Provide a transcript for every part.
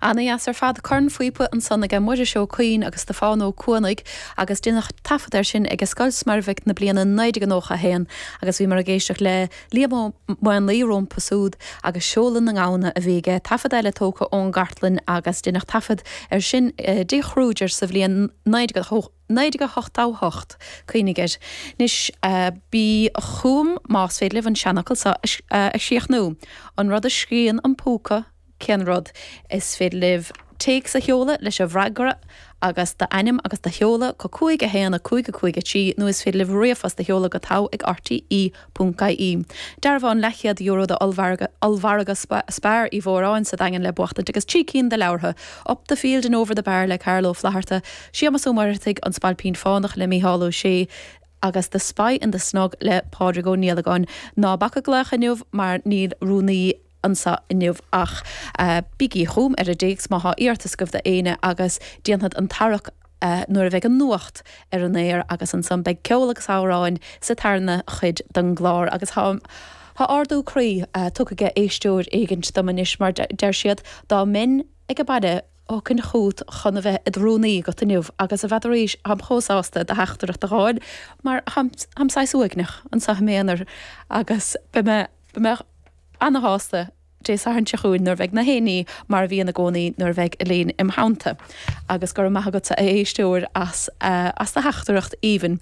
Ana-dheas ar fad. Cornphíopa ansan aige Muiris Ó Cuinn agus Stiofán Ó Cuanaigh agus deineadh taifead air sin ag Scoil Smuirbhic na bliana 1991 agus bhíomar ag éisteacht le Liam Ó Maonlaí rompu súd agus Seoladh na nGamhna a bhí aige, taifead eile tógtha ón gcartlann agus deineadh taifead air sin i dTigh Kruger sa bhliain 1988. Cuimhnigh air. Anois, bí chugam más féidir libh an seanfhocal seo a chríochnú. An rud a scríonn an púca, cén rud? Is féidir libh téacs a sheoladh leis an bhfreagra agus d'ainm agus do sheoladh go 5 1 5 5 3 nó is féidir libh ríomhphost a sheoladh go togha ag rte ponc ie. Dearbhán leathchéad euro d'ollmhargadh Spar Uí Mhóráin sa Daingean le buachtaint agus 3 cinn de leabhartha, Up the Field and Over the Bar le Carl Ó Flaithearta, Séamas Ó Muircheartaigh, An Spailpín Fánach le Mícheál Ó Sé, agus The Spy in the Snug le Pádraig Ó Niallagáin. Ná bac ag glaoch inniu mar níl rúnaí anseo inniu ach bígí chugam ar an dtéacs má thá iarratas agaibh d'éinne agus déanfad an tarrac nuair a bheidh an nuacht ar an aer agus ansan beidh ceol agus amhráin sa tarna chuid den gclár agus thá thá ardú croí tugtha age éisteoir éigint dom anois mar deir siad dá mbeinn ag an baile thiocfainn chugat chun a bheith id rúnaí agat inniu agus n'fheadaraís tháim chomh sásta do theachtaireacht a dh'fháil mar tháim tháim saghas uaigneach anseo i m'aonar agus beidh mé beidh mé ana-shásta Dé Sathairn seo chugainn nuair a bheidh na héinní mar a bhíonn i gcónaí nuair a bheidh Elaine im theannta. Agus go raibh maith agatsa a éisteoir as as do theachtaireacht aoibhinn.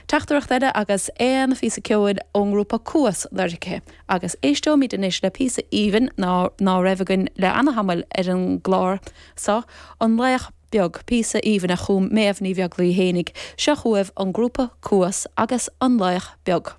Teachtaireacht eile agus aon phíosa ceoil ón ngrúpa Cuas lorgtha. Agus éisteoimid anois le píosa aoibhinn ná ná raibh againn le ana-thamall ar an gclár so, An Laoch Beag, píosa aoibhinn a chum Méabh Ní Bheaglaoi fhéinig. Seo chugaibh an grúpa Cuas agus An Laoch Beag.